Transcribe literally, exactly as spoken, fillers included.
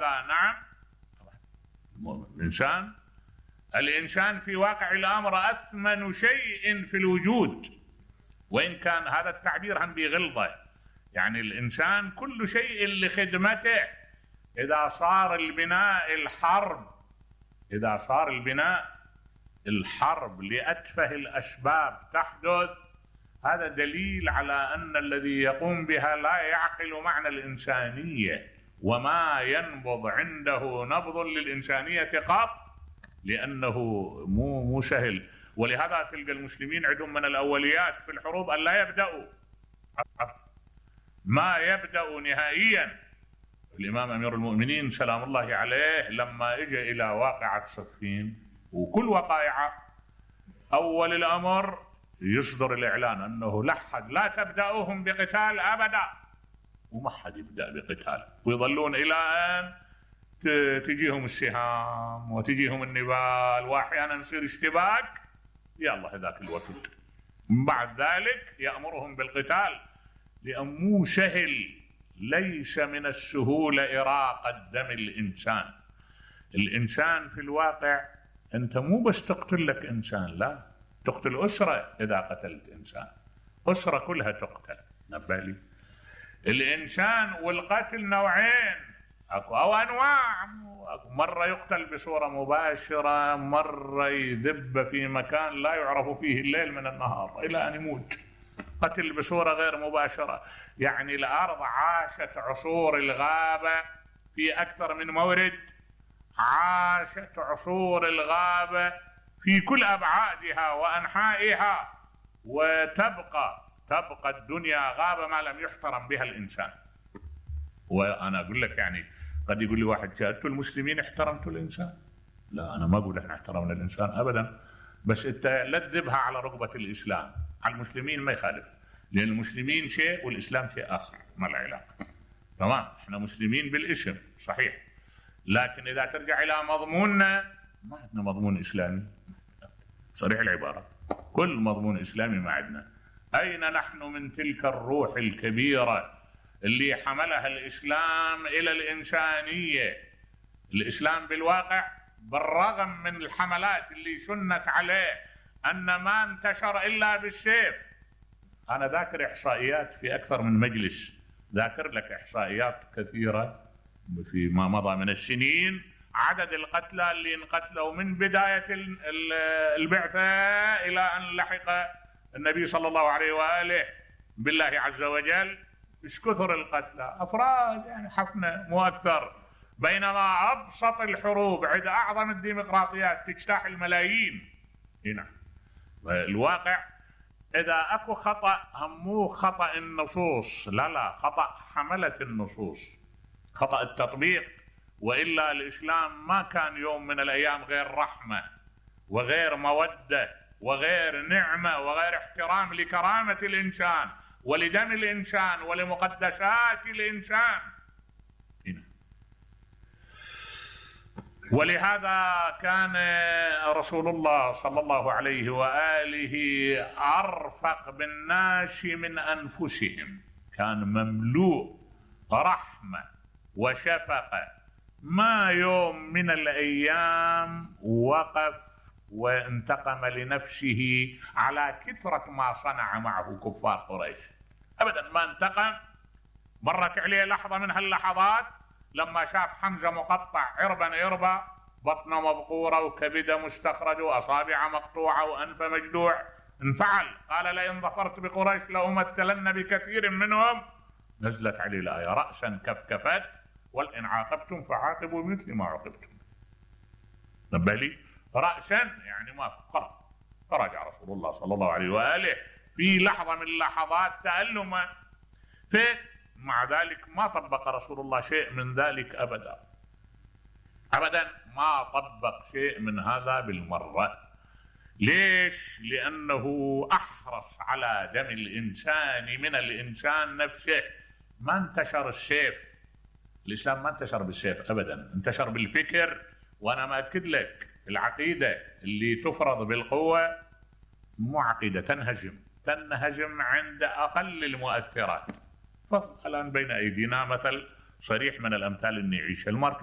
هذا نعم. الإنسان الإنسان في واقع الأمر أثمن شيء في الوجود، وإن كان هذا التعبير هم بغلظة، يعني الإنسان كل شيء لخدمته. إذا صار البناء الحرب إذا صار البناء الحرب لأتفه الأسباب تحدث، هذا دليل على أن الذي يقوم بها لا يعقل معنى الإنسانية، وما ينبض عنده نبض للإنسانية قط، لأنه مو مو سهل. ولهذا تلقى المسلمين عندهم من الأوليات في الحروب أن لا يبدأوا، ما يبدأوا نهائيا. الإمام أمير المؤمنين سلام الله عليه لما اجى إلى واقعة صفين وكل وقائع، أول الأمر يصدر الإعلان أنه لحد لا تبدأوهم بقتال أبدا، وما حد يبدأ بقتال، ويظلون إلى أن تجيهم السهام وتجيهم النبال، وأحيانا يصير اشتباك، يا الله ذاك الوقت بعد ذلك يأمرهم بالقتال، لأن مو سهل. ليس من السهولة إراقة دم الإنسان. الإنسان في الواقع أنت مو بس تقتل لك إنسان، لا، تقتل أسرة. إذا قتلت إنسان أسرة كلها تقتل. نبالي الإنسان والقتل نوعين، أكو أو أنواع. مرة يقتل بصورة مباشرة، مرة يذب في مكان لا يعرف فيه الليل من النهار إلى أن يموت. قتل بصورة غير مباشرة، يعني الأرض عاشت عصور الغابة في أكثر من مورد، عاشت عصور الغابة في كل أبعادها وأنحائها، وتبقى تبقى الدنيا غابة ما لم يحترم بها الإنسان. وأنا أقول لك يعني قد يقول لي واحد شاهدت المسلمين احترمتوا الإنسان؟ لا، أنا ما أقول احنا احترمنا الإنسان أبدا، بس أنت لا تذبها على رغبة الإسلام. على المسلمين ما يخالف، لأن المسلمين شيء والإسلام شيء آخر، ما العلاقة. تمام، احنا مسلمين بالاسم صحيح، لكن إذا ترجع إلى مضموننا ما عندنا مضمون إسلامي صريح العبارة، كل مضمون إسلامي ما عندنا. أين نحن من تلك الروح الكبيرة اللي حملها الإسلام إلى الإنسانية؟ الإسلام بالواقع بالرغم من الحملات اللي شنت عليه أن ما انتشر إلا بالسيف. أنا ذاكر إحصائيات في أكثر من مجلس، ذاكر لك إحصائيات كثيرة فيما مضى من السنين، عدد القتلى اللي انقتلوا من بداية البعثة إلى أن لحق النبي صلى الله عليه وآله بالله عز وجل. إيش كثر القتلى، أفراد يعني حفنة مو أكثر، بينما أبسط الحروب عند أعظم الديمقراطيات تجتاح الملايين. هنا الواقع إذا أكو خطأ هم مو خطأ النصوص، لا لا، خطأ حملة النصوص، خطأ التطبيق. وإلا الإسلام ما كان يوم من الأيام غير رحمة وغير مودة وغير نعمة وغير احترام لكرامة الإنسان ولدم الإنسان ولمقدسات الإنسان. هنا. ولهذا كان رسول الله صلى الله عليه وآله أرفق بالناس من أنفسهم، كان مملوء رحمة وشفقة. ما يوم من الأيام وقف وانتقم لنفسه على كثرة ما صنع معه كفار قريش، أبدا ما انتقم. مرت عليه لحظة من هاللحظات لما شاف حمزة مقطع عربا عربا، بطنه مبقورة وكبده مستخرج وأصابع مقطوعة وأنف مجدوع، انفعل، قال لئن ظفرت بقريش لأمثلن بكثير منهم. نزلت عليه الآية رأسا كفكفت وإن عاقبتم فعاقبوا بمثل ما عوقبتم. نبالي رأسا يعني ما خرج، فرجع رسول الله صلى الله عليه وآله في لحظة من لحظات تألمه، مع ذلك ما طبق رسول الله شيء من ذلك أبدا أبدا، ما طبق شيء من هذا بالمرة. ليش؟ لأنه أحرص على دم الإنسان من الإنسان نفسه. ما انتشر السيف، الإسلام ما انتشر بالسيف أبدا، انتشر بالفكر. وأنا ما أكد لك العقيدة اللي تفرض بالقوة مو عقيدة، تنهزم تنهزم عند أقل المؤثرات. الآن بين أيدينا مثل صريح من الأمثال اللي نعيشها، الماركس